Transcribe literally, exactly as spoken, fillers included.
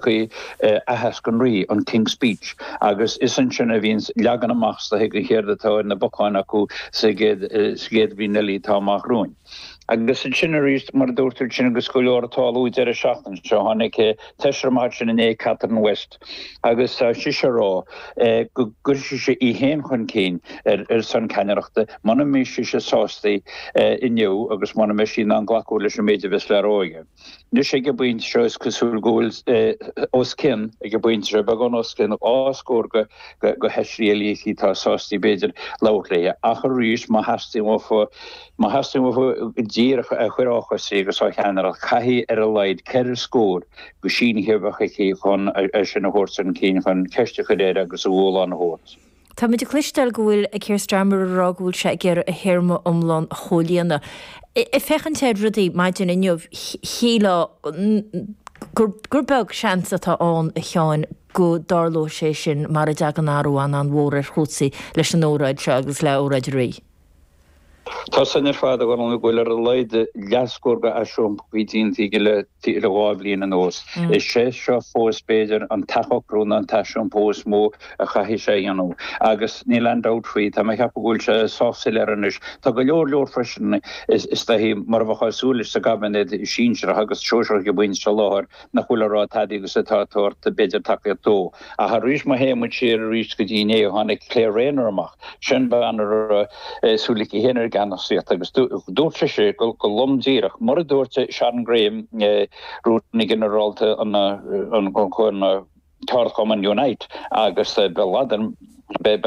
tiocfaidh aitheasc an Rí an King's Speech agus is ansin a bhíonn leagan amach sa go chéard atá ar na bacáin acu sa gcéad bhliain eile atá amach romhainn. Agus sin arís mar dúirt sin agus go leor tarlú deireadh seachtaine seo tháinig feisire amach sin inné Catherine West agus tá sí ag rá go gcuirfidh sí í féin chun cinn ar ar son ceannaireachta muna mbeidh sí sásta inniu agus muna mbeidh sí in ann glacadh leis an méid a bheas le rá aige. Anois ag an bpointe seo is cosúil go bhfuil os cionn ag an bpointe seo beagán os cionn dhá scór go go feisirí eile atá sásta b'fhéidir labhairt léi ach arís má theastaíonn uafa má theastaíonn uafa díreach a chur á chosaí agus á cheannaireacht caithfidh ar a laghad ceithre scór go sínithe a bheith aici chun sin a thabhairt chun cinn chun ceist a chur air agus a dhúshlán a thabhairt. Tá muid ag cloisteáil go bhfuil Keir Starmer ag rá go bhfuil sé ag iarraidh a théarma iomlán a chomhlíonadh. Ag féachaint ar rudaí maidin inniu shílfeá gur gur beag seans atá ann a Sheáin go dtarlódh sé sin mar a dtagann athrú an-mhór ar chúrsaí leis an óráid seo agus le óráid an Rí. Tá san ar fad go bhfuil ar a laghad leathscór go aisiompaí déanta le le dhá bhliain anuas. Is sé seo fós b'fhéidir an t-athshocrú nó an t-aisiompú is mó a chaithfidh sé a dhéanamh. Agus níl aon dabht faoi tá mé ag ceapadh go bhfuil sé sách soiléir anois. Tá go leor leor freisin is is mar a bheadh súil sa gcabinet sinsearach agus sóisearach ag baint sa láthair nach bhfuil ag rá tada agus atá ag tabhairt b'fhéidir tacaíocht dó. Ach arís má théann muid siar arís go dtí inné tháinig Claire Rayner amach sin bean ar súil aici féin ar gceannasaíocht agus dúirt sé go go lom díreach mar a dúirt Sharon Graham rúnaí ginearálta an an an ceardchumann Unite agus be